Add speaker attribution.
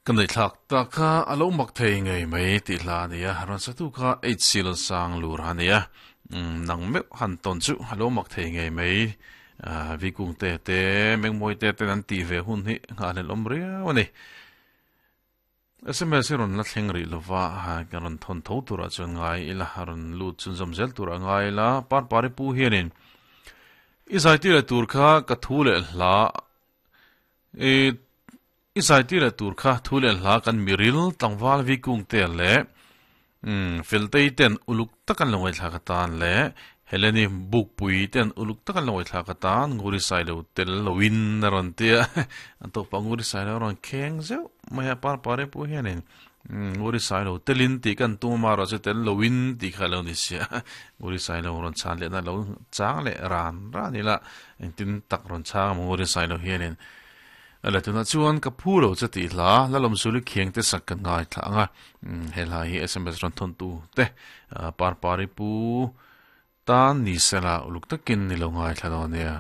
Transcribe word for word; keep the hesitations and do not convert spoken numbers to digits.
Speaker 1: Kan nei thlak ta kha alo mak thei ngei mai ti hla ania ron satu kha eight sil sang lur ania nang me han ton chu alo mak thei ngei mai vi kung te te mengmoi te te an ti ve hun hi nga le lom riau ani S M S ron la thleng ri lova ha kan ron thon tho tura chuan ngai ila ron lut chun zom zel tura ngai la par pari pu hianin i zai ti le tur kha ka thu le hla e i zai ti le tur kha thu le hla kan miril tlangwal vi kung te le um feltei ten uluk takan longoi thla ka tan le Heleni buk pui ten uluk takan longoi thla ka tan nguri sai lo tel lowin na ron tia an to pa nguri sai lo ron kheng zeu mai par pare pu hianin nguri sai lo telin ti kan tu ma ro che tel lowin ti kha lo ni sia nguri sai lo ron chan le na lo chang le ran ran ni la engtin tak ron chang nguri sai lo hianin ala tuna chuan ka phu lo che ti hla lalom suli khiang te sak kan ngai thla anga he hla hi S M S ron thon tu te par pari pu tan ni sela uluk takin ni lo ngai thla do nia.